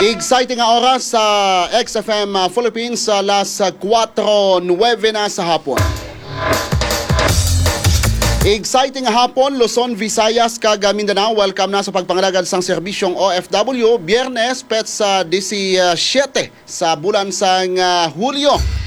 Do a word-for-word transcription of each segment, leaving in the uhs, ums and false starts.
Exciting nga oras sa X F M, ah, Philippines, sa las, ah, kuwatro nuwebe na sa hapon. Exciting nga hapon, Luzon, Visayas, kag, ah, Mindanao. Welcome na sa pagpangalagad sang serbisyong O F W, Biyernes, petsa disisyete sa bulan sang, ah, Hulyo.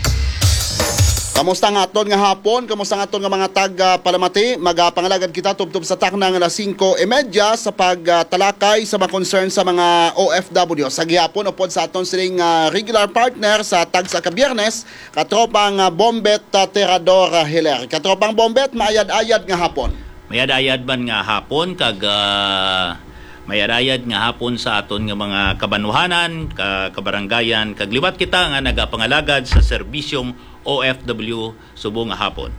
Kamusta nga aton nga hapon? Kamusta nga aton nga mga tag, ah, palamati? Magapangalagad kita tubtob sa takna nga alas singko y media sa pagtalakay sa mga concern sa mga O F W. Sa gihapon, upod sa aton sining, ah, regular partner sa tagsa ka Biyernes, katropang, ah, Bombet, ah, Tirador, ah, Hiler. Katropang Bombet, maayad-ayad nga hapon. Mayad-ayad man nga hapon kag, ah, mayad-ayad nga hapon sa aton nga mga kabanwahanan, ka-, kabarangayan, kag liwat kita nga nagapangalagad sa serbisyong O F W subong nga hapon.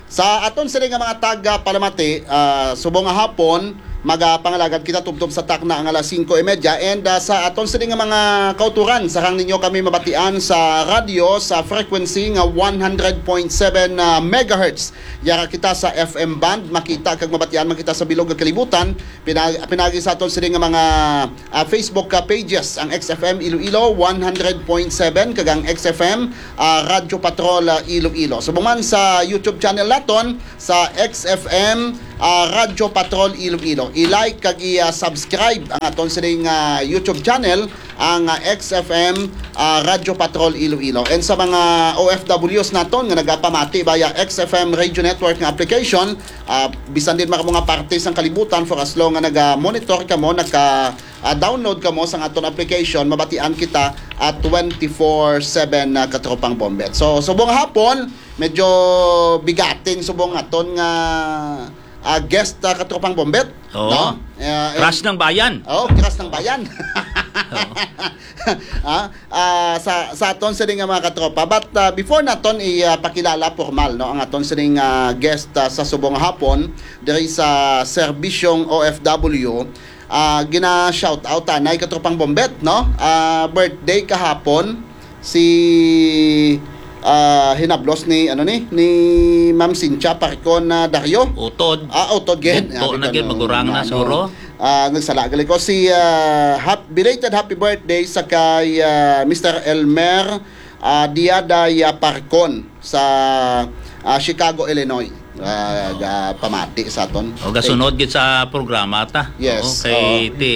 Sa aton sini nga mga taga palamati, ah, subong nga hapon, magapangalagad kita tubtob sa takna nga alas singko y media. And, ah, sa aton sini nga mga kauturan, sarang ninyo kami mabatian sa radyo sa frequency nga one hundred point seven, ah, megahertz. Yara kita sa F M band, makita kag mabatian man kita sa bilog nga kalibutan. Pinag-, pinagi sa aton sini nga mga, ah, Facebook, ah, pages, ang X F M Iloilo one hundred point seven kag ang X F M, ah, Radyo Patrol, ah, Iloilo. Subong man sa YouTube channel naton, sa X F M, ah, Radyo Patrol Iloilo. I-like kag i-, ah, subscribe ang aton sining, ah, YouTube channel, ang, ah, X F M, ah, Radyo Patrol Iloilo. And sa mga O F Ws naton nga nagapamati via X F M Radio Network nga application, ah, bisan din mga, mga parte sang kalibutan, for as long nga naga-monitor kamo, naka, ah, download kamo sa aton application, mabatian kita at twenty-four seven na, katropang Bombet. So, subong hapon, medyo bigatin subong aton nga, ah, guest, ah, katropang Bombet, Oo. no? Ah, Crush and ng bayan. Oh, crush ng bayan. Oo. Ah, ah, sa, sa aton sini nga mga katropa. But, ah, before naton ipakilala formal, no, ang aton sining, ah, guest, ah, sa subong hapon diri sa serbisyong O F W, ah, gina-shout out anay, katropang Bombet, no? Ah, birthday kahapon si, ah, hinablos ni, ano ni, ni Ma'am Cynthia Parcon, ah, Dario. Utod. Ah, utod gid. Utod na gid, magurang na, no? Suro. Ah, nagsala gali ko. Si, ah, hap-, belated happy birthday sa kay, ah, Mister Elmer, ah, Diada, ah, Parcon sa, ah, Chicago, Illinois. Ah, ga-, pamati sa aton. O, gasunod gid sa programa ta. Yes, Oo, kay oo. ti,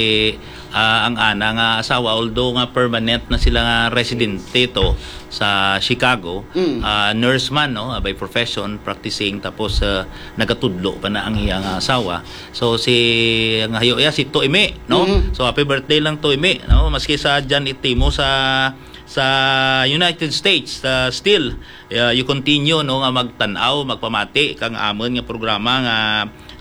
ah, ang ana nga asawa, although nga permanent na sila nga residente to sa Chicago, Mm. ah, nurse man, no, by profession, practicing, tapos, ah, nagatudlo pa na ang iyang asawa. So, si, ang hayo iya, si Toimi, no? Mm. So, happy birthday lang, Toimi, no? Maski sa dyan itimo sa, sa United States, ah, still, ah, you continue, no, nga magtan-aw, magpamati kang amon nga programa nga,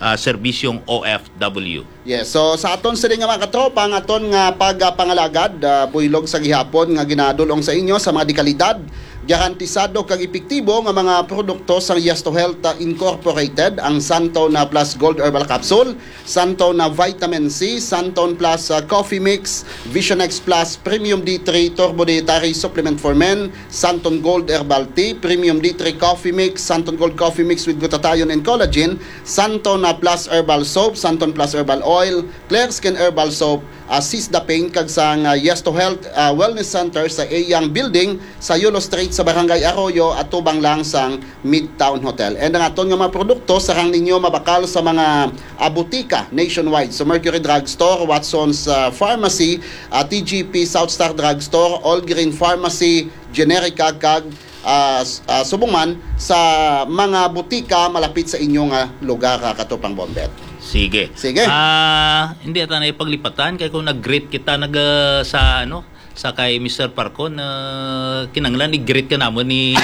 ah, serbisyong O F W. Yes, so sa aton sini nga mga katropa, ang aton nga pagpangalagad, ah, buylog sa gihapon nga ginadul-ong sa inyo sa mga dekalidad, garantisado kag epektibo nga mga produkto sa Yes to Health, ah, Incorporated, ang Santon na Plus Gold Herbal Capsule, Santon na Vitamin C, Santon Plus, ah, Coffee Mix, Vision X Plus Premium D three Turbo Dietary Supplement for Men, Santon Gold Herbal Tea, Premium D three Coffee Mix, Santon Gold Coffee Mix with Glutathione and Collagen, Santon, ah, Plus Herbal Soap, Santon Plus Herbal Oil, Clear Skin Herbal Soap, ah, Sis the Pain, kag sang, ah, Yes to Health, ah, Wellness Center sa Eyang Building sa Yulo Street sa Barangay Arroyo, atubang lang sang Midtown Hotel. And ang aton nga mga produkto, sarang ninyo mabakal sa mga, ah, butika nationwide. So, Mercury Drugstore, Watson's, ah, Pharmacy, ah, T G P, South Star Drugstore, All Green Pharmacy, Generica, kag, ah, s-, ah, subong man sa mga butika malapit sa inyo nga lugar, ah, katropang Bombet. Sige. Sige. Ah, hindi ata na ipaglipatan kay kung nag-greet kita nag, ah, sa ano, sa kay Mister Parcon, ah, kinanglan i-greet ka namon ni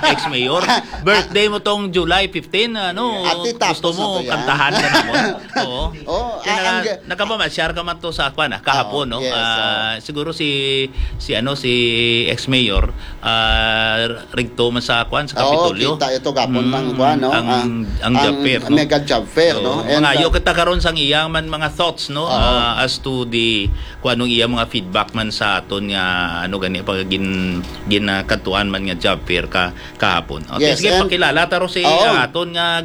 ex-mayor. Birthday mo tong July fifteen, ano, Ati, gusto tapos mo na to yan. kantahan ka namon? Oo. Oh, Kaya ang naga-, ga- nagkapamasyar ka man to sa kwan, ah, kahapon, Oo, no? yes, Ah, oo. siguro si, si ano, si ex-mayor, ah, rigto man sa kwan, sa Oo, Kapitolyo. kita ito gapon Mm, ng kwan, no? ang, Ah, ang ang job fair, no? mega job fair, no? Oo, And, mangayo ah, kita karon sang iyang man mga thoughts, no? Oo. Ah, as to the, kung anong iyang mga feedback man sa aton nga, ano gani, pag gin-, ginakadtuan man nga job fair ka, kahapon. Okay, Yes, sige, and pakilala ta ro si Oo. aton nga,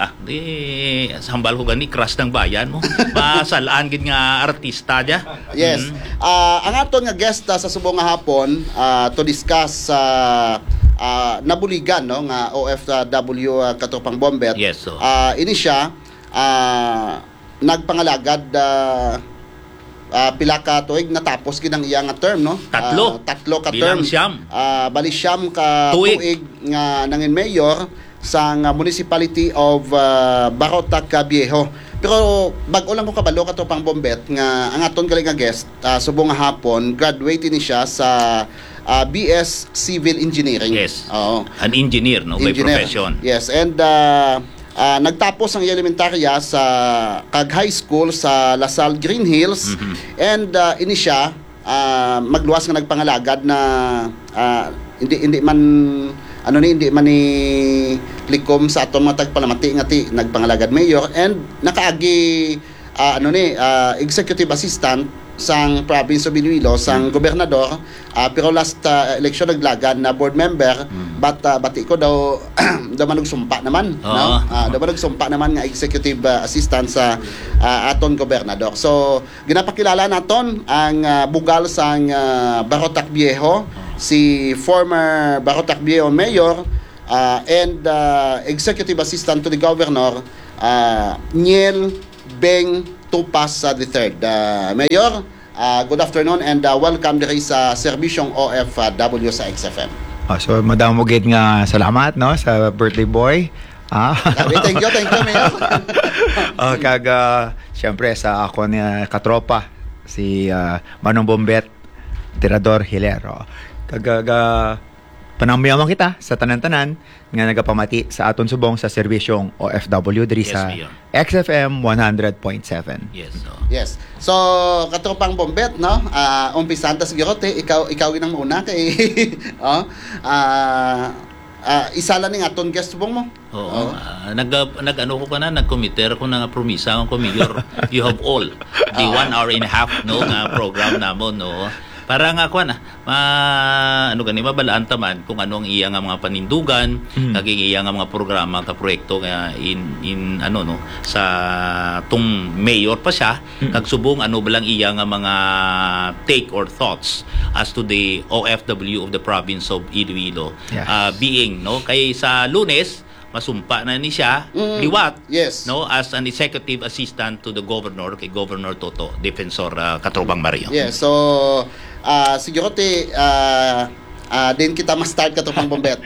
Ah, di, sa hambal ko gani, crush ng bayan mo. Masalaan gid nga artista dya. Yes. Mm. Ah, ang aton nga guest, ah, sa subong nga hapon, ah, to discuss sa, ah, nabuligan, no, nga O F W, ah, Katropang Bombet. Yes, so. Ah, ini siya, ah, nagpangalagad, ah, ah, pila ka tuig, natapos gid ang iya nga term, no? Tatlo. Ah, tatlo ka Bilang term. siyam. Ah, bali siyam ka Tuig. tuig nga nangin mayor sang, ah, Municipality of, ah, Barotac, ah, Viejo. Pero bag-o lang ko kabalo, Katropang Bombet, nga ang aton gali nga guest, ah, subong nga hapon, graduate ni siya sa, ah, B S Civil Engineering. Yes. Oo. An engineer, no, by Engineer. Profession. Yes, and, ah, ah, nagtapos ang iya elementarya sa kag high school sa La Salle, Green Hills. Mhm. And, ah, ini siya, ah, magluwas nga nagpangalagad na, ah, hindi hindi man ano ni hindi man ni likom sa aton mga tagpalamati nga ti nagpangalagad mayor and nakaagi, ah, ano ni, ah, executive assistant sang province of Iloilo sang gobernador, ah, pero last, ah, election naglagan na board member, but, ah, bati ko daw daw manugsumpa naman, Oo. No? Ah, daw manugsumpa naman nga executive, ah, assistant sa, ah, aton gobernador. So ginapakilala naton ang, ah, bugal sang, ah, Barotac Viejo, si former Barotac Viejo Mayor, ah, and, ah, Executive Assistant to the Governor, ah, Niel Beng Tupas, ah, the third. Ah, Mayor, ah, good afternoon and, ah, welcome diri sa Serbisyong O F W sa X F M. Oh, so madamo gid nga salamat, no, sa birthday boy. Ah. Sabi, thank you, thank you, Mayor. Oh, kag ah, siyempre sa ako ni katropa si ah, Manong Bombet Tirador Hilero. Kag ah, panamyawan kita sa tanan-tanan nga nagapamati sa aton subong sa serbisyong O F W diri Yes, sa Mayor. X F M one hundred point seven. Yes, so. Yes. So, katropang Bombet, no? Ah, umpisahan ta siguro, te, ikaw ikaw ginang mauna kay oh, ah, ah, isa lang ning aton guest subong mo. Oo. Ah, nag, nag ano ko kana, nag-committer ko na nga promisa ko, Mayor. You have all the one hour and a half, no, nga program namon, no. Para nga kuan, ah, ma, ano gani, mabalaan ta man kung ano ang iya nga mga panindugan, kag ang iya nga mga programa ka proyekto nga in, in ano, no, sa tung mayor pa siya, kag subong ano ba lang iya nga mga take or thoughts as to the O F W of the province of Iloilo, Yes. ah, being, no, kay sa Lunes masumpa na ni siya liwat, Yes. no, as an executive assistant to the governor, kay Governor Toto Defensor, ah, Katropang Mario. Yes. So, ah, siguro, te, ah, ah, din kita ma-start, katropang Bombet.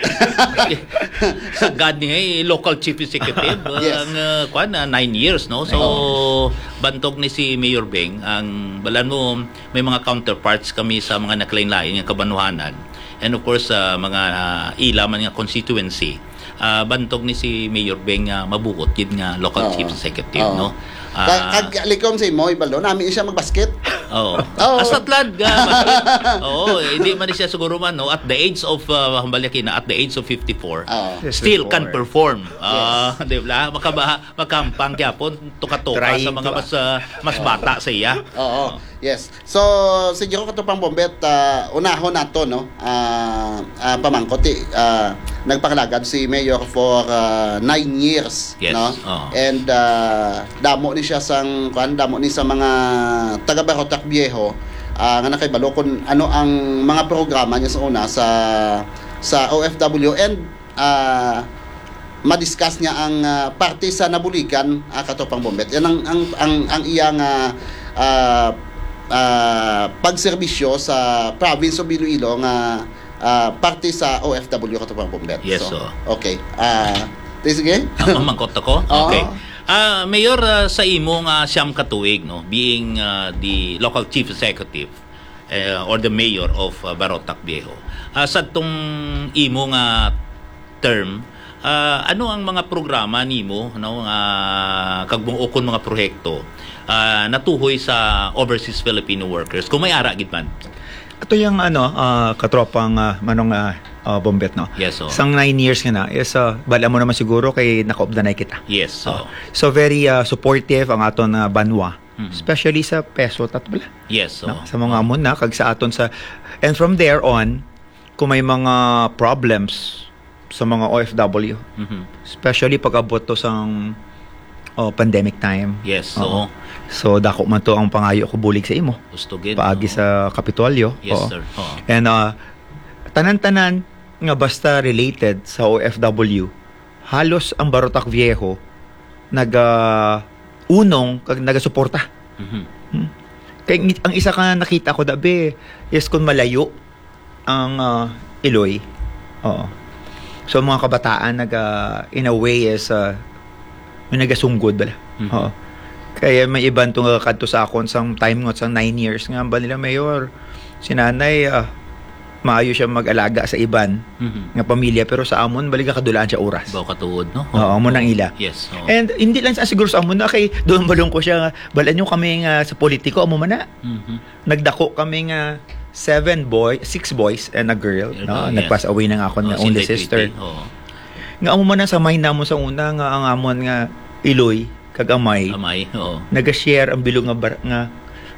Sa gad niya, eh, local chief executive, uh, Yes. ang uh, kwan, uh, nine years, no? So, bantog ni si Mayor Beng, ang balan mo, may mga counterparts kami sa mga nakalain-lain nga kabanuhanan. And of course, uh, mga uh, ila man nga constituency. Uh, bantog ni si Mayor Beng nga mabuot gid nga local Oo. chief executive, Oo. no? Ka- Ah, kag likom sa imo, ibalo, nami siya magbasket. Oo. Oo. Hasta tlad, ah, bakit? Oo, hindi man siya siguro man, no? At the age of, uh, hambalya kina, at the age of fifty-four, Oo. still can perform. Ah, di ba? Makaba, makampang gyapon, tuka-tuka sa Trying mga to, mas, ah, mas bata sa iya. Oo. Yes. So, siguro, katropang Bombet, ah, unahon nato, no? Ah, ah, pamangkot, eh, ah, nagpangalagad si Mayor for, ah, nine years, Yes, no? oo. And, ah, damo ni siya sang, kuan, damo ni sa mga taga Barotac Viejo, ah, nga nakahibalo kung ano ang mga programa niya sa una sa, sa O F W. And, ah, ma-discuss niya ang, ah, parte sa nabuligan, ah, katropang Bombet. Yan ang, ang, ang, ang iya nga, ah, ah, pagserbisyo sa province of Iloilo nga, ah, parte sa O F W, katropang Bombet. Yes, So, sir. Okay. Ah, di sige? Ah, mamangkot ako? Oo. Okay. Ah, Mayor, ah, sa imo nga siyam ka tuig, no, being, ah, the local chief executive, eh, or the mayor of, ah, Barotac Viejo, ah, sa tong imo nga term, ah, ano ang mga programa nimo, no, nga kag mga, ukon mga proyekto, ah, natuhoy sa overseas Filipino workers, kung may ara gid man? Ato yung ano, ah, katropang ah, Manong ah, ah, Bombet, no? Yes, so. Sang nine years nga na, is, ah, bala mo naman siguro kay nakaupdanay kita. Yes, so. So very ah, supportive ang aton nga banwa, Mhm. especially sa peso tat bala. Yes, so. No? Sa mga amon na kag sa aton sa, and from there on, kung may mga problems, sa mga O F W. Mhm. Especially pag-abot to sang, oh, pandemic time. Yes, oo. So, dako man to ang pangayo ko bulig sa imo. Gusto gid, Paagi oo. sa Kapitolyo. Yes, Oo. sir. Oo. And, uh, tanan-tanan nga basta related sa O F W, halos ang Barotac Viejo naga-unong kag nagasuporta. Mhm. Hmm? Kay ang isa ka nakita ko, dabi, is kung malayo ang, ah, Iloy. Oo. So, mga kabataan naga, in a way, is, ah, may nagasunggod bala. Mhm. Oo. Kaya may iban to nga kadto sa akon sang time nga sang nine years nga ba nila, "Mayor, si nanay, ah, maayo siya mag-alaga sa iban Mhm. nga pamilya, pero sa amon, bali ka kadulaan siya oras." Baw katuod, no? Oo, amo nang ila. Yes, oo. And hindi lang sa siguro sa amon na kay doon balong ko siya, "Balaan nyo kami nga sa politiko, amo man na." Mhm. Nagdako kami nga seven boy, six boys and a girl, Girl, no? oh, yes. Nag-pass away na nga akon Oh, nga only Sinday sister. Tweety, oo. Nga amo man ang samay namon sa una nga ang amon nga Iloy kag Amay. Amay, oo. Naga-share ang bilog nga bar-, nga,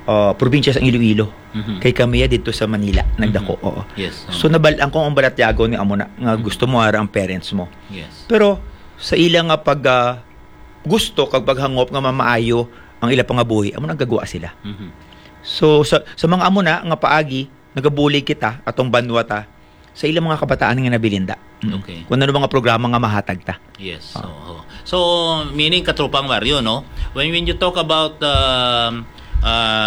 ah, probinsya sa Iloilo. Mhm. Kay kami ya dito sa Manila, nagdako, Mhm. oo. Yes, oo. So, nabal-an ko ang balatyagon nga amo na, nga Mhm. gusto mo ara ang parents mo. Yes. Pero sa ila nga pag, ah, gusto kag paghangop nga mamaayo ang ila pangabuhi, amo nagagwa sila. Mhm. So, sa, sa mga amo na nga paagi, nagabulig kita, atong banwa ta, sa ilang mga kabataan nga nabilin da. Mm. Okay. Kung ano mga programa nga mahatag ta. Yes, Ah. oo. So, meaning, Katropang Mario, no? When, when you talk about, um, uh,